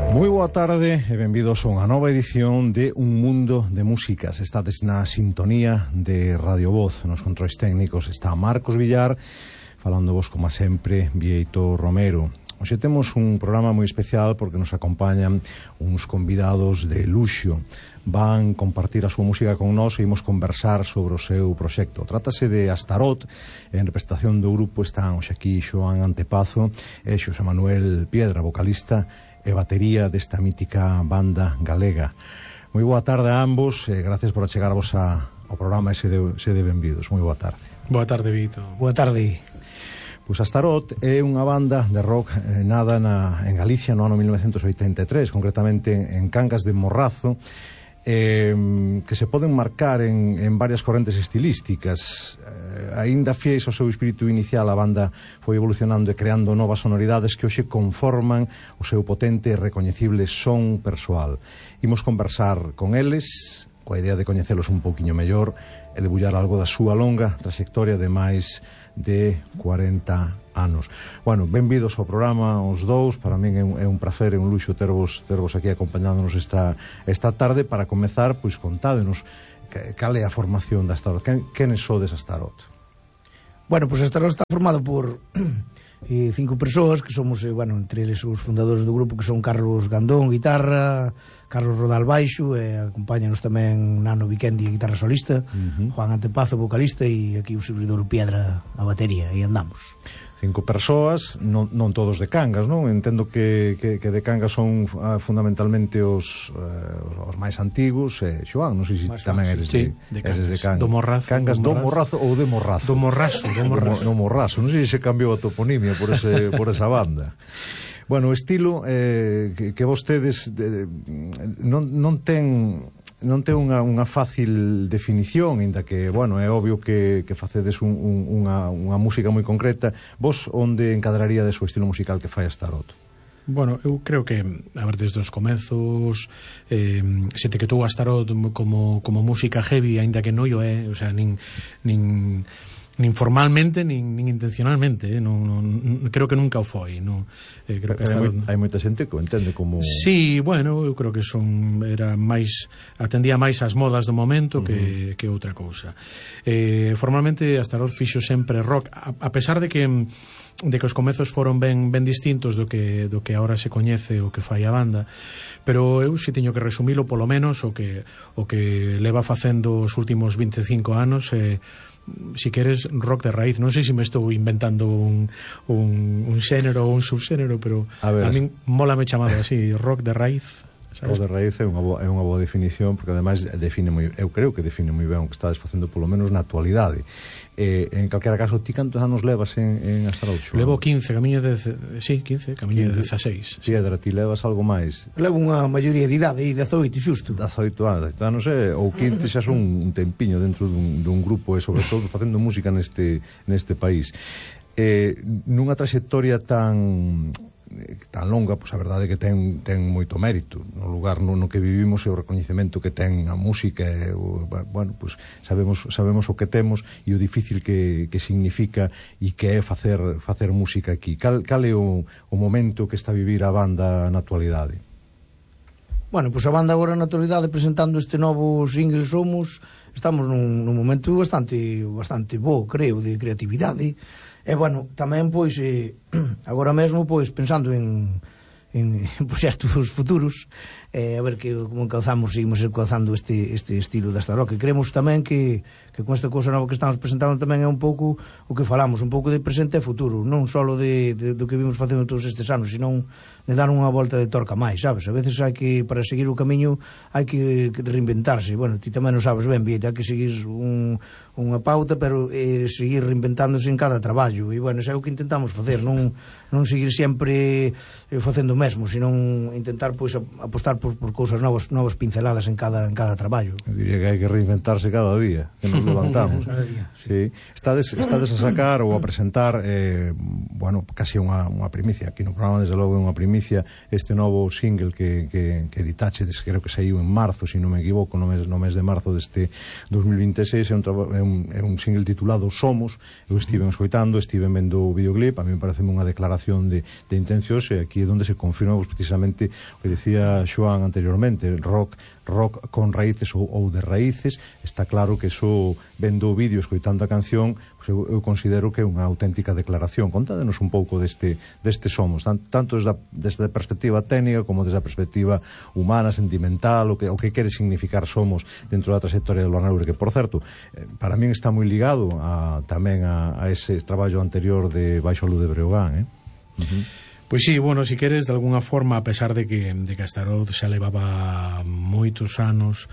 Moi boa tarde e benvidos a unha nova edición de Un Mundo de Músicas. Estades na sintonía de Radio Voz. Nos controis técnicos está Marcos Villar, falando vos como sempre Vieito Romero. Hoxe temos un programa moi especial porque nos acompañan uns convidados de luxo. Van compartir a súa música con nós e imos conversar sobre o seu proxecto. Trátase de Astarot. En representación do grupo están hoxe aquí Xoán Antepazo e Xosé Manuel Piedra, vocalista e batería desta mítica banda galega. Moi boa tarde a ambos e gracias por achegarvos ao programa e sede benvidos. Moi boa tarde. Boa tarde, Vito. Boa tarde. Pois Astarot é unha banda de rock nada en Galicia no ano 1983, concretamente en Cangas de Morrazo, que se poden marcar en varias correntes estilísticas. Aínda fiéis ao seu espírito inicial, a banda foi evolucionando e creando novas sonoridades que hoxe conforman o seu potente e recoñecible son persoal. Imos conversar con eles coa idea de coñecelos un pouquiño mellor e debullar algo da súa longa trayectoria de máis de 40 anos. Bueno, benvidos ao programa os dous. Para min é un placer e un luxo tervos aquí acompañándonos esta tarde. Para comezar, pois contádenos cal é a formación da Astarot. Quenes sodes Astarot? Bueno, pois Astarot está formado por 5 persoas que somos, entre eles os fundadores do grupo, que son Carlos Gandón, guitarra, Carlos Rodal baixo, e acompáñanos tamén Nano Vikendi, guitarra solista, Juan Antepazo, vocalista, e aquí o servidor Piedra, a batería, e andamos. 5 persoas, non todos de Cangas, non? Entendo que de Cangas son fundamentalmente os máis antigos. Xoán, non sei se tamén eres de Cangas. Do Morrazo. Cangas do Morrazo ou de Morrazo? Do Morrazo. No Morrazo, non sei se cambiou a toponimia por esa banda. Bueno, o estilo que vostedes non ten unha fácil definición, inda que, é obvio que facedes unha música moi concreta. Vos onde encadraríades o estilo musical que fai Astarot? Bueno, eu creo que, desde os comezos se te quedou Astarot como música heavy, aínda que non o é, o sea, nin formalmente, nin intencionalmente, creo que nunca o foi, creo que hai moita xente que o entende como... Sí, eu creo que atendía máis ás modas do momento que outra cousa. Formalmente Astarot fixo sempre rock, a pesar de que os comezos foron ben distintos do que agora se coñece o que fai a banda, pero eu si teño que resumilo polo menos o que leva facendo os últimos 25 anos, si queres, rock de raíz. Non sei se me estou inventando un xénero ou un subxénero, pero a min mola me chamado así, rock de raíz, sabes? Rock de raíz é unha boa definición, porque ademais eu creo que define moi ben o que estades facendo, polo menos na actualidade. En calquera caso, ti cantos anos levas en Astarot? Levo 15, camiño de 16. Piedra, ti levas algo máis? Levo unha maioría de idade, 18 xusto. 18 anos, ou 15 xa son un tempiño dentro dun grupo, e sobre todo facendo música neste país. Nunha trayectoria tan longa, pois a verdade é que ten moito mérito no lugar no que vivimos, e o recoñecemento que ten a música, pois sabemos o que temos e o difícil que significa e que é facer música aquí. Cal é o momento que está a vivir a banda na actualidade? Bueno, pois a banda agora na actualidade, presentando este novo single Somos, estamos nun momento bastante bo, creo, de creatividade. E, tamén, pois, agora mesmo, pois, pensando en proxectos futuros, a ver como seguimos encauzando este estilo da Astarot, que creemos tamén que con esta cousa nova que estamos presentando tamén é un pouco o que falamos, un pouco de presente e futuro, non só do que vimos facendo todos estes anos, senón de dar unha volta de torca máis, sabes? A veces hai que, para seguir o camiño, hai que reinventarse. Ti tamén non sabes ben, hai que seguir unha pauta, pero seguir reinventándose en cada traballo, e, isso é o que intentamos facer, non seguir sempre facendo o mesmo, senón intentar, pois, apostar por cousas novas pinceladas en cada traballo. Eu diría que hai que reinventarse cada día, que nos levantamos. Sí. Estades a sacar ou a presentar casi unha primicia aquí no programa, desde logo é unha primicia, este novo single que editachedes, creo que saiu en marzo, se non me equivoco, no mes de marzo deste 2026. É un un single titulado Somos. Eu estive escoitando, estive vendo o videoclip, a mí me parece unha declaración de intencións, e aquí é onde se confirma precisamente o que decía Xoán anteriormente, rock con raíces ou de raíces. Está claro que eso, vendo o vídeo, escoitando a canción, pues eu considero que é unha auténtica declaración. Contádenos un pouco deste Somos, tanto desde a perspectiva técnica como desde a perspectiva humana, sentimental, o que quere significar Somos dentro da trayectoria de Luan Aure, que, por certo, para min está moi ligado tamén a ese traballo anterior de Baixo a Luz de Breogán, Pois sí, bueno, si queres, de alguna forma, a pesar de que Astaroth xa levaba moitos anos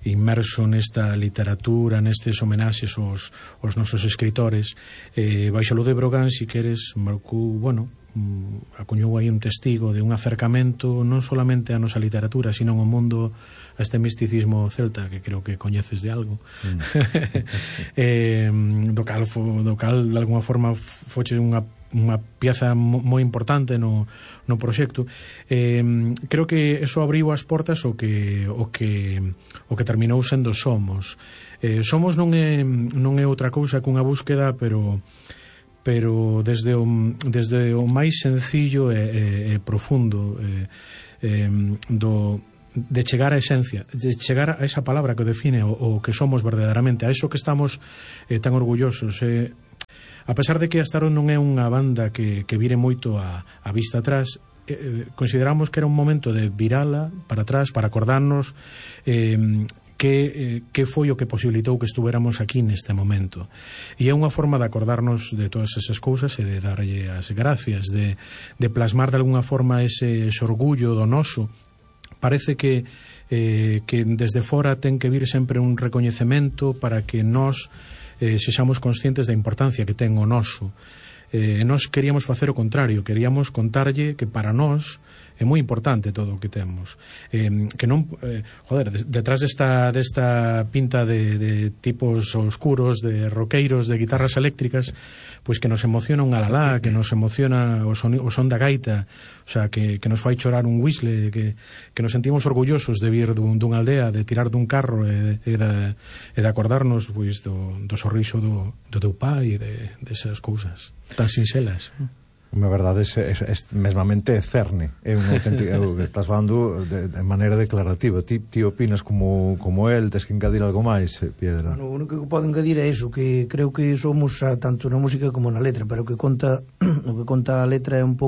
inmerso nesta literatura, nestes homenaxes aos nosos escritores, Baixo a Luz de Breogán, si queres, marcou, bueno, acuñou aí un testigo de un acercamento non solamente a nosa literatura, sino ao mundo, a este misticismo celta, que creo que coñeces de algo, do cal de alguna forma foche unha pieza moi importante no proxecto. Creo que eso abriu as portas o que terminou sendo Somos. Somos non é outra cousa que unha búsqueda, pero desde o máis sencillo e profundo de chegar á esencia, de chegar a esa palabra que define o que somos verdadeiramente, a eso que estamos tan orgullosos. A pesar de que Astaroth non é unha banda que vire moito a vista atrás, consideramos que era un momento de virala para atrás, para acordarnos que foi o que posibilitou que estuveramos aquí neste momento. E é unha forma de acordarnos de todas esas cousas e de darlle as gracias, de plasmar de alguna forma ese orgullo do noso. Parece que desde fora ten que vir sempre un recoñecemento para que nós sexamos conscientes da importancia que ten o noso. Nós queríamos facer o contrario, queríamos contarlle que para nós é moi importante todo o que temos, que non, detrás desta pinta de tipos oscuros, de roqueiros, de guitarras eléctricas, pois que nos emociona un alalá, que nos emociona o son da gaita, o sea, que nos fai chorar un whistle, que nos sentimos orgullosos de vir dunha aldea, de tirar dun carro e de acordarnos pois do sorriso do teu pai e desas cousas tan sinxelas. Na verdade, é mesmamente cerne. É un auténtico, estás falando de maneira declarativa. Ti opinas como el, tes que engadir algo máis, Piedra? O único que podo engadir é iso, que creo que somos tanto na música como na letra, pero o que conta a letra é un pouco